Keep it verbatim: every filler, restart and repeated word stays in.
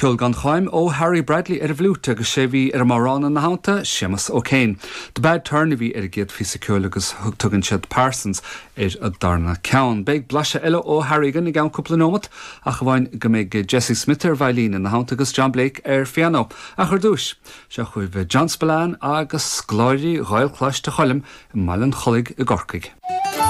Ceol gan cháim ó Harry Bradley ar an bhfliúit agus sé bhí ar an mbodhrán ina theannta Séamus O'Kane. The Bad Turn a bhí ar an gcéad phíosa ceoil agus thug tugann siad Parsons ar an darna ceann. Beidh blaiseadh eile ó Harry againn i gceann cúpla nóiméad ach amháin go mbeidh Jesse Smith ar veidhlín ina theannta agus John Blake ar phianó. Ach ar dtús seo chugaibh John Spillane agus scoláirí Ghaelcholáiste Choilm i mBaile an Chollaigh i gCorcaigh.